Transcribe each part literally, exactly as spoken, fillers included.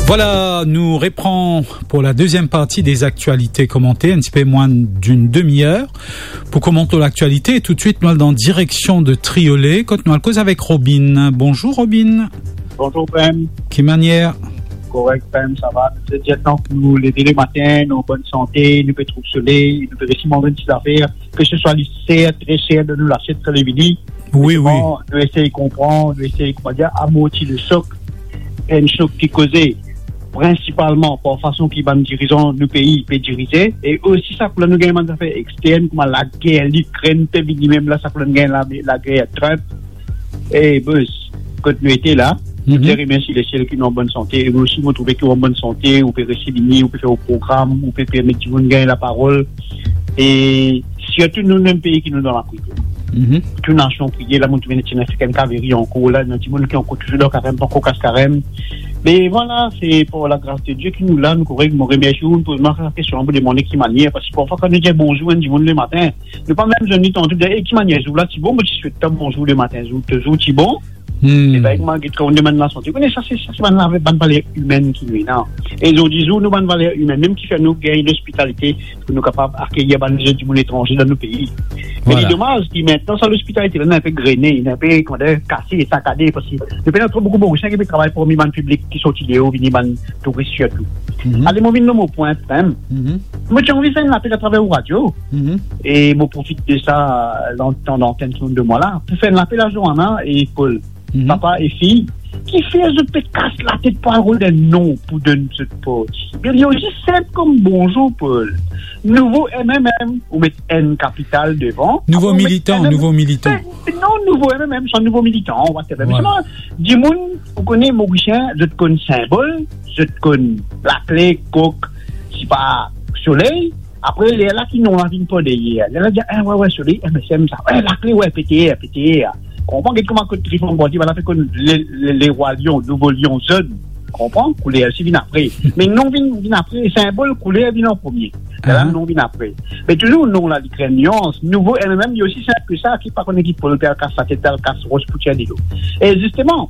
Voilà, nous reprenons pour la deuxième partie des actualités commentées, un petit peu moins d'une demi-heure, pour commenter l'actualité. Et tout de suite, nou al dan direksion de Triolet, kot nou al koz avek Robin. Bonjour Robin. Bonjour Prem. Ki manier? Korek Prem, sa va? Nou dir, tank nou leve lematin, nou an bonn sante, nou pe trouv soley, nou pe resi manz enn ti zafer, ke se swa li ser, tre ser dan nou lasiet kan li vini. Wi, wi. Bon, nou esey konpran, nou esey, koumadir, amorti le sok. Enn sok ki koze prinsipalman par fason ki bann dirizan nou pei pe dirize, e osi sa kouma nou gagn bann zafer extern, kouma lager Likrenn pe vini, mem la sa kouma nou gagn la, lager Trump. E bos, kot nou ete la, nou Mhm. dir remersi lesiel ki nou an bonn sante. E osi, mo trouve ki ou an bonn sante, ou pe resi vini, ou pe fer ou program, ou pe permet dimoun gagn laparol. E sirtou nou mem pei ki nou dan lapriyer. Mhm. Tou nasion priye, la mo trouve ena ti ena African Cavalry ankor la, ena dimoun ki ankor touzour dan karem, pankor kas karem. Me vwala, se par lagras de Die ki nou la, nou korek. Mo remersi ou, nou poz mwa sa kestion pou demande ki manier, parski parfwa kan nou dir bonzour enn dimoun lematin, nou pa mem zwenn li tanto, dir, "E ki manier zour la ti bon?" Mo ti swet twa bonzour lematin, zour, to zour ti bon. Hmm. E pa ek mwa get kan ou demann lasante. Ou kone sa, se, sa se bann, bann valer imenn ki nou ena. E zordi zour, nou bann valer imenn mem ki fer nou gagn lospitalite, pou nou kapav akeyir bann lezot dimoun etranze dan nou pei. Me Vwala. Li domaz ki aster sa lospitalite la, li inpe grene, li inpe, koumadir, kase, sakade, parski nou pena tro boukou Morisien ki pe travay parmi bann piblik ki sorti deor, vini bann touris sirtou. Mhm. Ale, mo vinn lor mo pwin, Prem. Mhm. Mo ti anvi fer enn lapel atraver ou radio. Mhm. E mo profit de sa, lan-, tan lantenn ki ou donn mwa la, pou fer enn lapel a Joanna e Paul. Mhm. Papa e fi, kifer zot pe kas latet pou al rod enn non pou donn zot parti? Me li osi sinp kom bonzour, Paul. Nouvo M M M, ou met N kapital devan. Nouvo Apre, ou met militan, M M M. Nouvo militan. Ben, non, nouvo M M M, sa nouvo militan, whatever. Me Vwala. Selman, dimoun, ou kone, Morisien, zot konn sinbol, zot konn lakle, kok, sipa, soley. Apre, lerla ki non la vinn par deryer. Lerla dir, "Eh, we, we, soley, M S M sa. We, lakle, we, P T R, P T R." Konpran, get kouma kot Trifon Bandi, bann la pe konn le, le, lerwa lion, nouvo lion zonn. Konpran? Kouler osi vinn apre. Me non vinn, vinn apre, sinbol, kouler vinn an premie. Lerla Aha. Non vinn apre. Me touzour non la, li krinn nuans. Nouvo M M M, li osi sinp ki sa, ki pa kone ki Paul pe al kas latet, al kas ros pou tir dilo. E zisteman,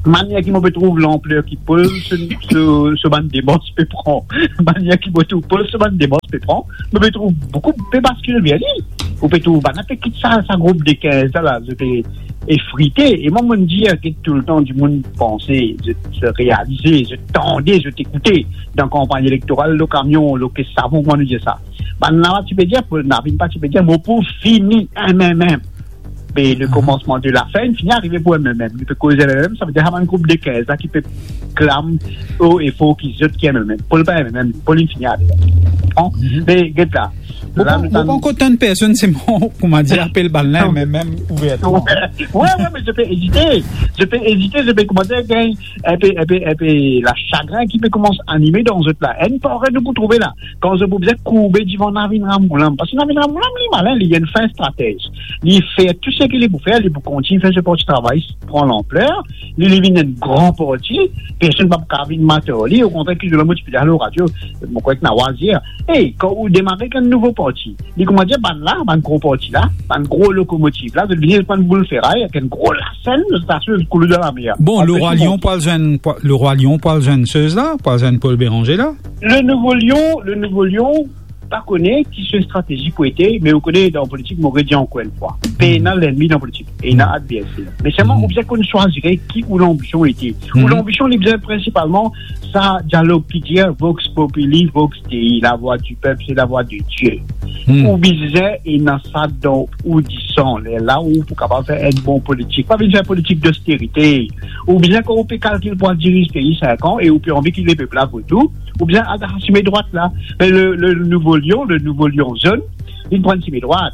manier ki mo pe trouv lanpler ki Paul, so, so, so bann demars pe pran. Manier ki mo trouv Paul, so bann demars pe pran, mo pe trouv boukou pe baskil ver li. Ou pe trouv bann la pe kit sa, sa group de kinz la, la, zot pe efrite. E mwa, mo dir, get toultan dimoun panse, zot, zot realize, zot tande, zot ekoute dan kanpagn elektoral, lor kamion, lor kes savon, kouma nou dir sa. Bann la ti pe dir, Paul, na vinn pa ti pe dir, mo pou fini M M M. Me le Mhm. komansman de lafin, fini arive pou M M M. Li pe koz M M M, sa ve dir sa bann group de kinz la ki pe klam o e for ki zot ki M M M. Paul pa M M M, Paul inn fini ale. Konpran? Mhm. Me get la. Mo La, pa, nou mo tann pa ankor tann personn, se mwa, koumadir, apel bann la, Non. M M M ouvertman. We, we, me zot pe ezite. Zot pe ezite, zot pe koumadir gagn inpe, inpe, inpe lasagrin ki pe koumans anime dan zot la. Enn parey nou pou trouve la. Kan zot pou bizin kourbe divan Navin Ramgoolam. Parski Navin Ramgoolam, li malin, li enn fin stratez. Li fer tou seki li pou fer, li pou kontign fer so parti travay pran lanpler, li, li vinn enn gran parti, personn pa pou kapav vinn mat ar li, okontrer, ki zour la mo ti pe dir lor radio, mo krwar ki Nawaz dir, e, kan ou demare ek enn nouvo parti, li koumadir bann la, bann gro parti la, bann gro lokomotiv la, zot vini ek bann boul feray, ek enn gro lasenn, zot asiz koulou dan lamer. Bon, Apre Lerwa tou Lion, bon. pou al zwenn, pou, Lerwa Lion, pou al zwenn sez la, pou al zwenn Paul Bérenger la? Le Nouveau Lion, le Nouveau Lion, pa kone ki so stratezi pou ete, me ou kone dan politik, mo redir ankor enn fwa. Pena lennmi dan politik, ena adverser. Me selman, Mhm. ou bizin konn swazir ki ou lanbision ete. Ou Mhm. lanbision, li bizin prinsipalman, sa dialog ki dir, vox populi, vox Dei, la voix du peuple, c'est la voix de Dieu. Mhm. Ou bizin ena sa dan ou disan, lerla ou pou kapav fer enn bon politik. Pa vinn fer politik dosterite. Ou bizin, kan ou pe kalkil pou al diriz pei sink an e ou pe anvi ki lepep la vot ou, ou bizin al dan sime drwat la. Me le, le Nouveau Lion, le Nouveau Lion zonn, li pran sime drwat.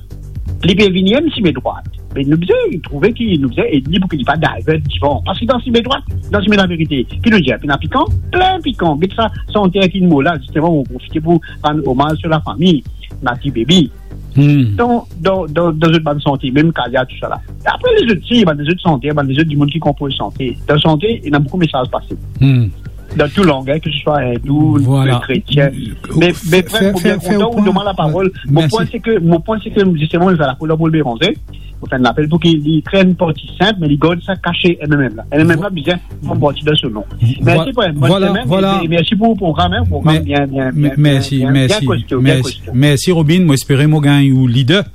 Li pe vini enn sime drwat. Me nou bizin trouve ki, nou bizin ed li pou ki li pa divert divan. Parski dan sime drwat, dan sime laverite, ki nou dir, pena pikan, plin pikan. Get sa santer ki mo la, zisteman, mo profite pou rann omaz lor lafami, Nati Baby. Hmm. Dan, dan, dan, dan zot bann sante, mem Kalia, tousala. Apre lezot, si, bann lezot santer, bann lezot dimoun ki konpoz sante. Dan sante, ena boukou mesaz pase. Hmm. Dan tou lang, hein, ke se swa indou, Vwala. kretien. Me, me Fer, Prem, mo fer, bien fer kontan ou donn mwa laparol. Mo Mersi. pwin se ke, mo pwin se ke, zisteman, nou fer lakour la pou Paul Bérenger. pou fer enn lapel pou ki li kre enn parti sinp, me li gard sa kase M M M la. M M M la bizin pran parti dan so non. Vo-, Mersi pou enn bon semem, e, e mersi pou program, hein, program bien, bien, bien, bien, bien kosto, bien kosto. Mersi, Robin. Mo espere mo gagn ou lider,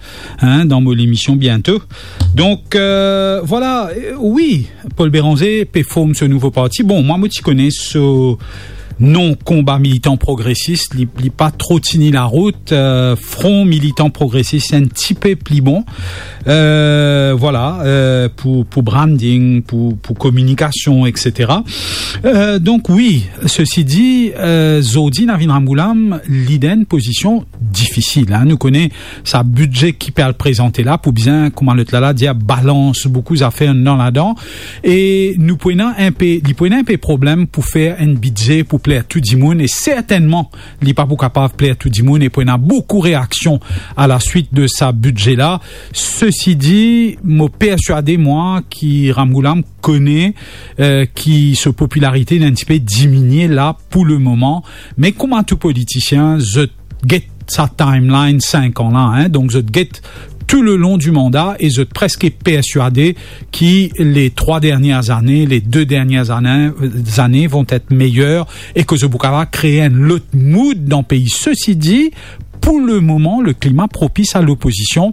hein, dan mo lemision biento. Donk, euh, vwala, euh, wi, Paul Bérenger pe form so nouvo parti. Bon, mwa, mo ti kone so non Konba Militan Progresis, li, li pa tro tini larout, euh, Front Militant Progresis, enn tipe pli bon. Euh, vwala, euh, pou, pou branding, pou, pou kominikasion, et cetera. Euh, donk wi, sesi di, euh, zordi Navin Ramgoolam li dan enn pozision difisil, hein. Nou kone sa bidze ki pe al prezante la, pou bizin, kouma lot la la dir, balans boukou zafer dan ladan. E nou pou ena inpe, li pou ena inpe problem pou fer enn bidze pou pler tou dimoun, e sertennman, li pa pou kapav pler tou dimoun, e pou ena boukou reaksion a la swit de sa bidze la. Sesi di, mo perswade, mwa, ki Ramgoolam kone, euh, ki so popilarite inn enn tipe diminie la pou lemoman. Me kouma tou politisien, zot get sa timeline sink an la, hein. Donk, zot get tou le lon di manda e zot preske perswade ki le trwa dernie zane, le de dernie zane, zane vont et meyer e ke zot pou kapav kree enn lot mood dan pei. Sesi di, pou lemoman, le klima propis a lopozision.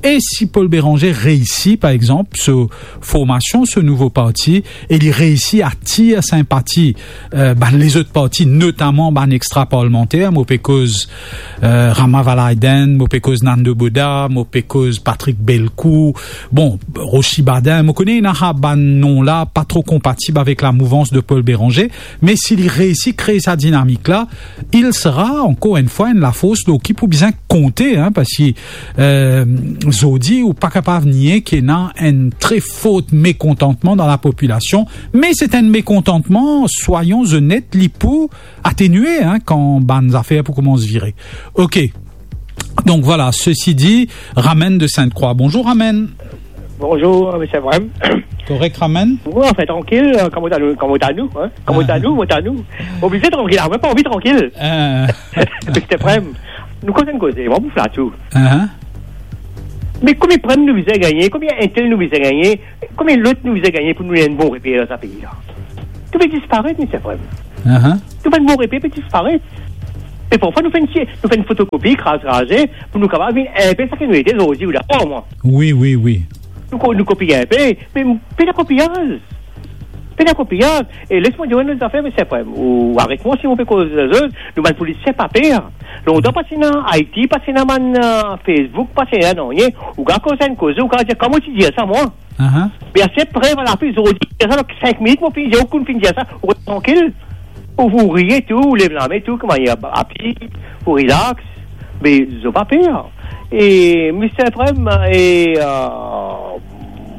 E si Paul Bérenger reisi, par exanp, so formasion, so nouvo parti, e li reisi atir sinpati, euh, bann lezot parti, notaman bann extra-parlemanter, mo pe koz, euh, Rama Valaydin, mo pe koz Nando Bodha, mo pe koz Patrick Bellecourt, bon, Rochi Baden, mo kone ena sa bann non la pa tro konpatib avek lamouvans de Paul Bérenger, me si li reisi kree sa dinamik la, il sera, ankor enn fwa, enn lafors lor ki pou bizin konte, hein, parski, euh, zordi, ou pa kapav nie ki ena enn tre for mekontantman dan lapopilasion, me se enn mekontantman, swayon onet, li pou atenue, hein, kan bann zafer pou koumans vire. Ok. Donk vwala, sesi di, Ramen de Sinte-Krwa. Bonzour, Ramen. Bonzour, Misie Prem. Korek, Ramen? Wi, anfin, trankil, euh, kouma ta nou, kouma ta nou, hein? Kouma ta nou, kouma ta nou. Oblize trankil, ah, mwa pa anvi trankil. Ah. Misie Prem, nou koz enn koze, mwa pou flat ou. Ah. Me konbien prem nou bizin gagne, konbien entel nou bizin gagne, konbien lot nou bizin gagne pou nou ena enn bon reper dan sa pei la? Tou pe disparet, Misie Prem. Ah. Tou bann bon reper pe disparet. E parfwa nou fer enn ti, nou fer enn fotokopi, kraz, kraze, pou nou kapav vinn inpe seki nou ete zordi, ou dakor, mwa? Wi, wi, wi. Nou ko-, nou kopiye inpe, me pena kopiaz. Pena kopiaz. E les mwa dir enn lot zafer, Misie Prem. Ou aret mwa si mo pe koz zot, nou bann politisien pa per. Lontan pa ti ena I T, pa ti ena bann, euh, Facebook, pa ti ena nanye. Ou kapav koz enn koze, ou kapav dir, kouma ti dir sa, mwa? Ah. Me aster prev a lapli, zordi, dir sa, dan sink minit, mo finn dir, ou konn finn dir sa, ou res trankil. Ou, ou riye tou, ou lev lame tou, kouma, api, ou relax. Me zot pa per. E Misie Prem, e, euh,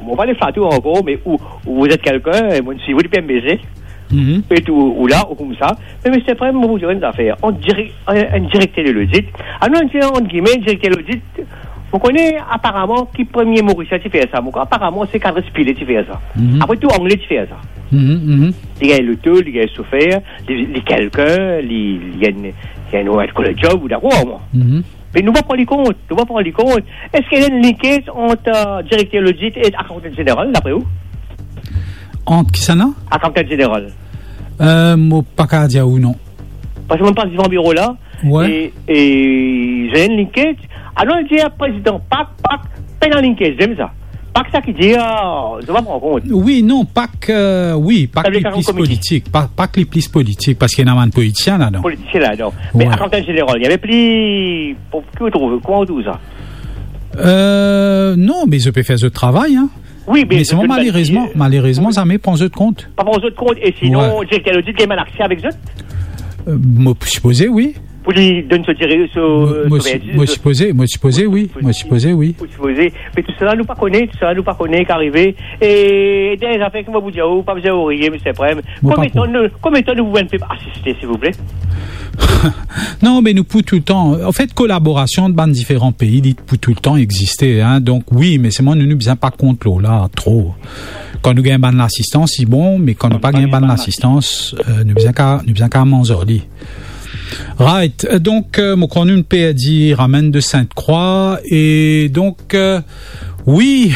mo pa le flat ou ankor, me ou, vous êtes quelqu'un, e mo swiv ou depi M B C. Mhm. E tou, ou la, ou koumsa. Me Misie Prem, mo pou dir enn zafer. Enn direk-, enn, enn direkter de lodit. Ah non, enn, ant gime, enn direkter lodit, mo kone aparaman ki premie Morisien ti fer sa. Mo krwar aparaman se Kadres Pile ti fer sa. Mhm. Apre tou, Angle ti fer sa. Mhm, mhm. Li gagn loto, li gagn sofer, li, li kelkin, li, li gagn, li gagn enn kolor job, ou dakor, mwa? Mhm. Me nou pa pran li kont, nou pa pran li kont. Eski ena enn linkage ant, euh, direkter lodit e akantan zeneral, dapre ou? Ant kisannla? Akantan zeneral. Euh, mo pa kapav dir ou non. Parski mo pas devan biro la, wi, e, e, ena enn linkage. Alor, li dir, prezidan, Pak, Pak, pena linkage, zame sa. Pak sa ki dir, ah, zot pa pran kont. Wi, non, Pak, euh, wi, Pak li plis politik. Pa-, Pak li plis politik, parski ena bann politisien ladan. Politisien ladan. Me akantan zeneral, li ena pli, pou, ki ou trouv, kouma ou trouv sa? Euh, non, me zot pe fer zot travay, hein. Wi, me selman, malerezman, malerezman, zame pran zot kont. Pa pran zot kont, e sinon, direkter lodit gagn bann akse avek zot? Euh, mo sipoze, wi. Pou li donn so dire-, so, mo, mo so si-, verdi, mo so sipoze, mo sipoze, wi, mo sipoze, wi. Mo sipoze. Me tousala nou pa kone, tousala nou pa kone ki arive. E dernie zafer ki mo pou dir ou, pa bizin worye, Misie Prem. Konbien tan nou, konbien tan nou pou enn pep asiste, silvouple? Non, me nou pou toultan, anfet, kolaborasion ant bann diferan pei, li pou toultan existe, hein. Donk wi, me selman nou, nou bizin pa kont lor la tro. Kan nou gagn bann lasistans, li bon, me kan nou pa gagn bann lasistans, euh, nou bizin ka, nou bizin ka manz ar li. Right. Euh, donk, euh, mo krwar nou perdi Ramen de Sinte-Krwa, e donk, euh, Wi.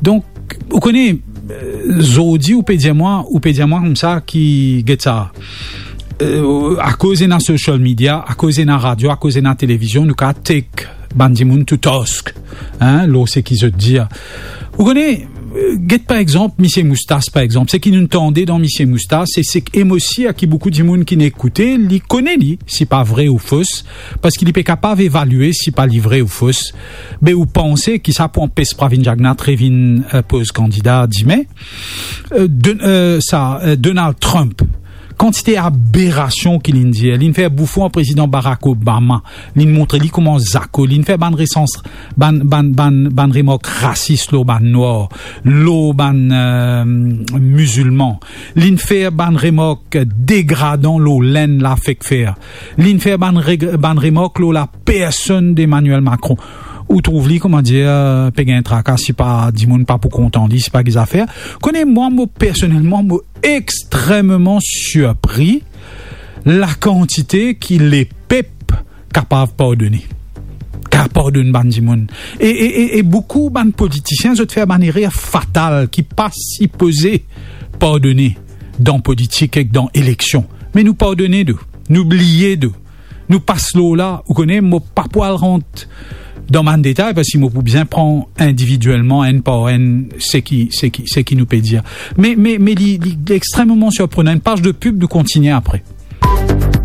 Donk, ou kone, eh, zordi, ou pe dir mwa, ou pe dir mwa koumsa ki, get sa, eh, akoz ena social media, akoz ena radio, akoz ena televizion, nou kapav take bann dimoun to task, hein, lor seki zot dir. Ou kone, eh, get par exanp, misie Moustas, par exanp, seki nou tande dan misie Moustas, e seki, e mo sir ki boukou dimoun ki'nn ekoute, li kone li, si pa vre ou fos, parski li pe kapav evalie si pa li vre ou fos. Be ou panse ki sa pou anpes Pravind Jugnauth revinn, eh, poz kandida dime? Eh, Don-, eh, sa, eh, Donald Trump, kantite aberasion ki li'nn dir, li'nn fer boufon ar prezidan Barack Obama, li'nn montre li kouma zako, li'nn fer bann resans, bann, bann, bann, bann remark rasis lor bann nwar, lor bann, eh, mizilman, li'nn fer bann remark degradan lor lenn la fek fer, li'nn fer bann reg-, bann remark lor lapersonn d'Emmanuel Macron. Ou trouv li, kouma dir, pe gagn traka, si pa dimoun pa pou kontan li, si pa ki zafer. Kone, mwa, mo, personelman, mo extrememan sirpri lakantite ki lepep kapav pardone. Kapav pardonn bann dimoun. E, e, e, e boukou bann politisien, zot fer bann erer fatal ki pa sipoze pardone dan politik ek dan eleksion. Me nou pardone de, nou bliye de, nou pas lor la, ou kone, mo pa pou al rant dan bann detay, parski mo pou bizin pran individielman, enn par enn, seki, seki, seki nou pe dir. Me, me, me li, li extrememan sirprenan. Enn paz de pib, nou kontigne apre.